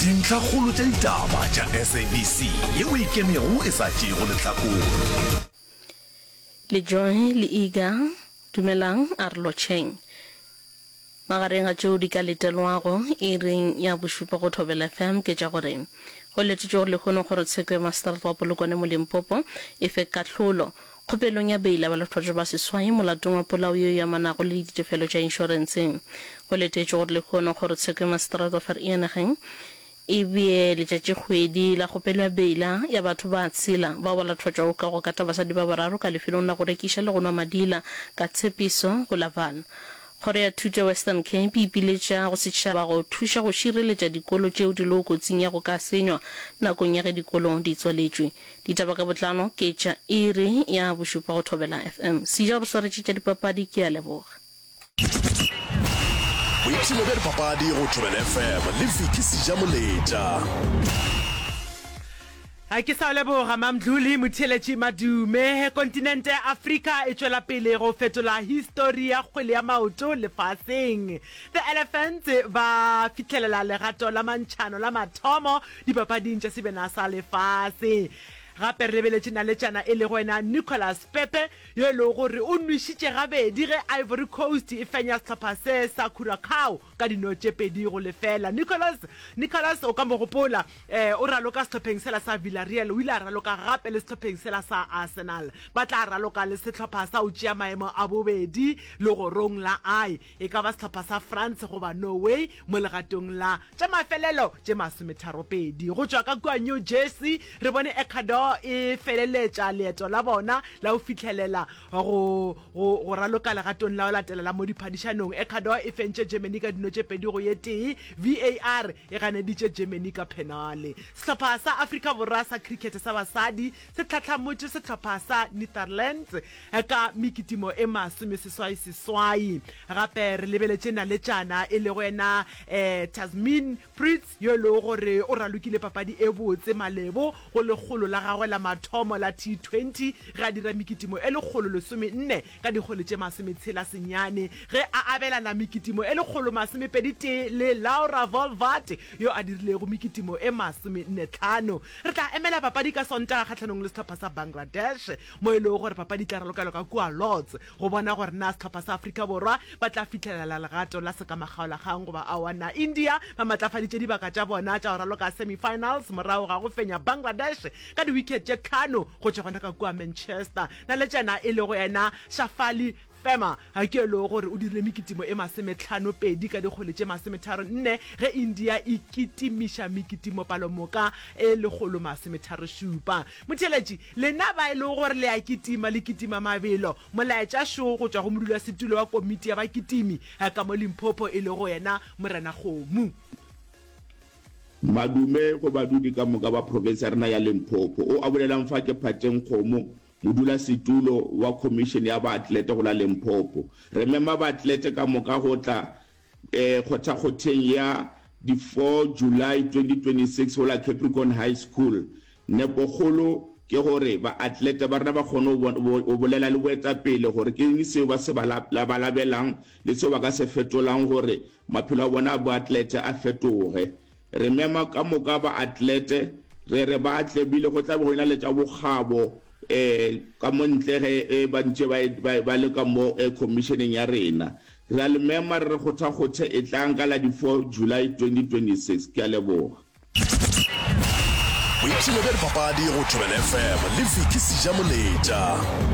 Dintlhakgolo tša ditaba tša SABC yeo e ikemego e sa tšeego lehlakore. Le Joy le Iga, dumelang, a re lotšheng. Magareng ga tšeo di ka letelwago iring ya bošupa go Thobela FM ke tša gore go letetšwe gore lehono kgorotsheko ya maseterata wa Polokwane mo Limpopo e fe kahlolo kgopelong ya beila balatofatšwa ba seswai molatong wa polao yeo e amanago le ditefelo tša inšorense. Go letetšwe gore lehono kgorotsheko ya maseterata wa Vereeniging E bee letšatšikgwedi la kgopelo ya beila ya batho ba tshela bao ba latofatšwago ka go kata basadi ba bararo ka lefelong la go rekiša le go nwa madila ka tshepiso go la Vaal. Kgoro ya Thuto ya Western Cape e ipiletša go setšhaba go thuša go šireletša dikolo tšeo di lego kotsing ya go ka senywa nakong ya ge dikolo di tswaletšwe. Ditaba ka botlalo ke tša iri ya bošupa go Thobela FM. Seja o re swaretše tša dipapadi, ke a leboga. Boipshino bja dipapadi go Thobela FM le Vicky Sejamoletša. Ke sa leboga Mamdluli Motheeletši Madume. Kontinente ya Afrika e tšwela pele go fetola histori ya kgwele ya maoto lefaseng. The Elephants ba fihlelela legato la mantšhano la mathomo dipapading tša sebjana sa lefase. Gape re lebeletše naletšana e lego yena Nicolas Pepe yo e lego gore o nwešitše gabedi ge Ivory Coast e fenya sehlopha se sa Curacao ka dino tše 2-0. Nicolas Nicolas o ka mo gopola eh, o raloka sehlopheng sela sa Villarreal, o ile a raloka gape le sehlopheng sela sa Arsenal. Ba tla raloka le sehlopha sa go tšea maemo a bobedi legorong la I, e ka ba sehlopha sa France goba Norway mo legatong la tša mafelelo tše masometharopedi. Go tšwa ka kua New Jersey, re bone Ecuador e feleletša leeto la bona la go fihlelela go, go, go raloka legatong la go latela la mo diphadišanong. Ecuador e fentše Germany ka dino tše pedi go ye tee, VAR e ganeditše Germany ka phenale. Sehlopha sa Afrika Borwa sa cricket sa basadi se tlhahlamotše sehlopha sa Netherlands ka mekitimo e masomeseswai-seswai. Gape re lebeletše naletšana e lego yena Tazmin Brits yo e lego gore o ralokile papadi e botse malebo go lekgolo la gagwe la mathomo la T20 ge a dira mekitimo e lekgolo lesomenne ka dikgole tše masometshela senyane ge a abelana mekitimo e lekgolo masomepedi tee le Laura Wolvaardt yo a dirilego mekitimo e masomenne tlhano. Re tla emela papadi ka Sontaga kgahlanong le sehlopha sa Bangladesh mo e lego gore papadi e tla ralokelwa ka kua Lords go bona gore na sehlopha sa Afrika Borwa ba tla fihlelela legato la sekamakgaolakgang goba aowa. Na India ba matlafaditše dibaka tša bona tša go raloka semi-finals morago ga go fenya Bangladesh ka di-wicket tše tlhano go tšwa gona ka kua Manchester. Naletšana e lego yena Shafali Verma ke e lego gore o dirile mekitimo e masometlhano-pedi ka dikgwele tše masometharo-nne ge India e kitimiša mekitimo palomoka e lekgolo masometharo-šupa. Motheeletši, lena ba e lego gore le a kitima, le kitima mabelo, molaetša šo go tšwa go modulasetulo wa komiti ya bakitimi ka mo Limpopo e lego yena Morena Kgomo. Madume go badudi ka moka ba profense ya rena ya Limpopo. O a bolelang fa ke Phateng Kgomo, modulasetulo wa Khomišene ya Baatlete go la Limpopo. Re mema baatlete ka moka go tla kgothakgotheng ya di 4 July 2026 go la Capricorn High School. Nepokgolo ke gore baatlete ba rena ba kgone go bolela le boetapele gore ke eng seo ba se labalabelang le seo ba ka se fetolang gore maphelo a bona a boatlete a fetoge. Re mema ka moka baatlete, re re ba tle, bile go tla be go ena le tša bokgabo ka mo ntle ge ba ntše ba ba le ka mo khomišeneng ya rena. Re a le mema re re kgothakgothe etlang ka la di 4 July 2026. Ke a leboga. Boipshino bja dipapadi go Thobela FM le Vicky Sejamoletša.